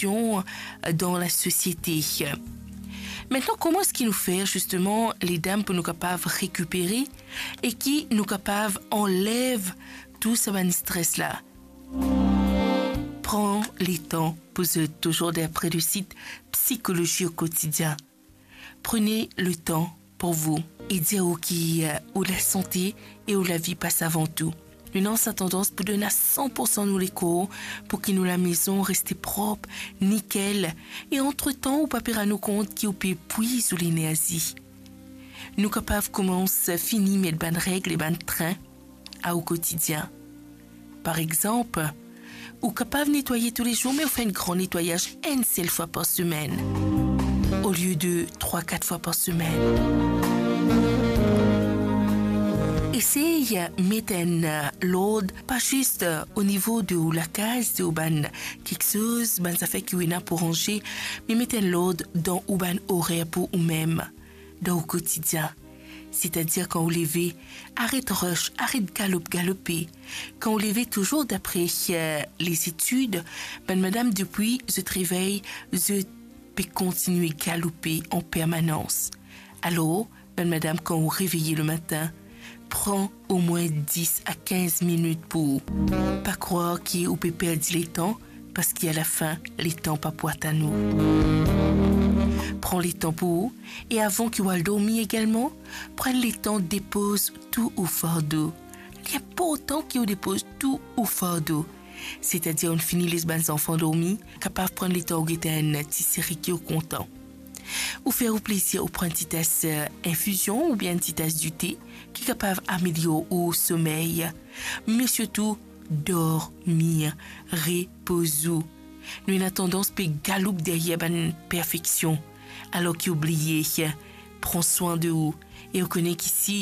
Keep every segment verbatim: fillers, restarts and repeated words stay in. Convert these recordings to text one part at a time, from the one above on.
dan lasosiete. Aster, kouma eski nou fer zisteman, ledam, pou nou kapav rekipere e ki nou kapav anlev tou sa bann stres la? Pran letan pou zot, touzour dapre le sit Psychologie au quotidien. Prenez le temps pour vous. E dir ou ki, eh, ou lasante e ou lavi pas avan tou. Nou ena sa tandans pou donn a san pour san nou lekor, pou ki nou lamezon reste prop, nikel, e antretan ou pa pe rann ou kont ki ou pe epwiz ou lenerzi. Nou kapav koumans fini met bann reg e bann trin a ou kotidien. Par exanp, ou kapav netwaye toulezour, me ou fer enn gran netwayaz enn sel fwa par semenn, olie de trwa, kat fwa par semenn. Esey met enn lord, pa zis o nivo de ou lakaz, de ou bann kiksoz, bann zafer ki ou ena pou ranze, me met enn lord dan ou bann orer pou oumem, dan ou kotidien. Setadir, kan ou leve, aret rush, aret galop, galope. Kan ou leve, touzour dapre, eh, lezetid, bann madam, depi zot revey, zot pe kontigne galope an permanans. Alor, bann madam, kan ou reveye lematin, pran omwin dis a kinz minit pou ou. Pa krwar ki ou pe perdi letan, parski alafin, letan pa pou atann ou. Pran letan pou ou, e avan ki ou al dormi egalman, pran letan depoz tou ou fardo. Li inportan ki ou depoz tou ou fardo. Setadir, ou fini les bann zanfan dormi, kapav pran letan ou get enn ti seri ki ou kontan. Ou fer ou plezir, ou pran ti tas, eh, infizion oubien ti tas dite ki kapav amelior ou somey. Me sirtou, dormi, repoz ou. Nou ena tandans pe galoup deryer bann perfeksion, alor ki ou bliye pran swin de ou. E ou kone ki si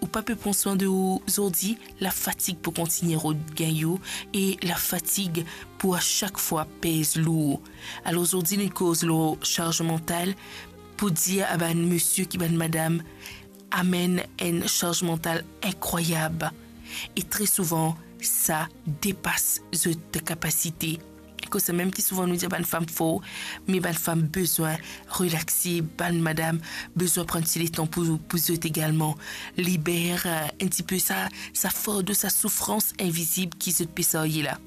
ou pa pe pran swin de ou zordi, lafatig pou kontigne rod gagn ou e lafatig pou a sak fwa pez lour. Alor zordi, nou koz lor sarz mantal, pou dir a bann misie ki bann madam amenn enn sarz mantal inkrwayab. E tre souvan, sa depas zot kapasite. Koumsa mem ki souvan nou dir bann fam for, me bann fam bizin relaxe, bann madam bizin pran ti letan pou, pou zot egalman. Liber, eh, enn tipe sa, sa fardo, sa soufrans invizib ki zot pe sarye la.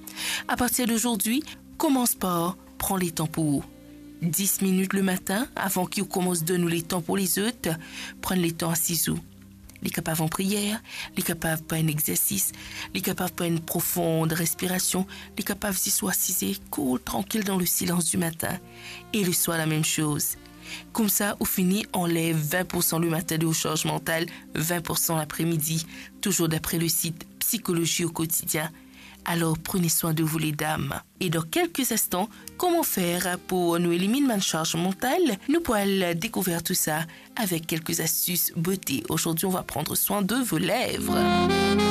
Apartir de zordi, koumans par pran letan pou ou. Dis minit lematin, avan ki ou koumans donn ou letan pou lezot, pran letan asiz ou. Li kapav an priyer, li kapav par enn exersis, li kapav par enn profond respirasion, li kapav zis ou asize, koul, trankil dan le silans di matin. E leswar, lamem soz. Koumsa, ou fini anlev vin pour san lematin de ou sarz mantal, vin pour san lapremidi, touzour dapre le sit Psychologie au quotidien. Alor, prenez soin de vous, les dames. E dan kelke instan, kouma fer pou nou eliminn bann sarz mantal? Nou pou al dekouver tou sa avek kelke astis bote. Aujourd'hui, on va prendre soin de vos lèvres.